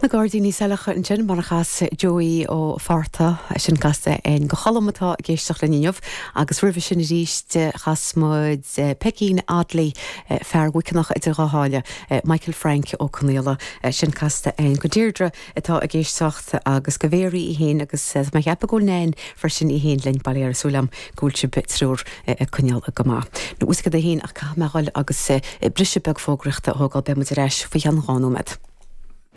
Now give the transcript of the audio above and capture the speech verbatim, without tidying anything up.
Na Gairdíní Saileacha ansin mar a chas Joey Ó Fátharta sin casta an go cholam atá ag éisteacht linn inniu agus roimhe sin arís chas muid Peigín Audley fear Mhuiceanach idir dhá sháile Michael Frank Ó Conaola sin casta an go Deirdre atá ag éisteacht agus go Mhéirí í féin agus má cheap go bhfuil freisin í féin linn bail ó Dhia oraibh go bhfuil sibh triúr ag coinneáil go maith. Nó úsca a haon ach caithfidh mé dhul agus briseadh beag fógraíochta a thógáil beidh muid ar ais faoi cheann dhá nóiméad.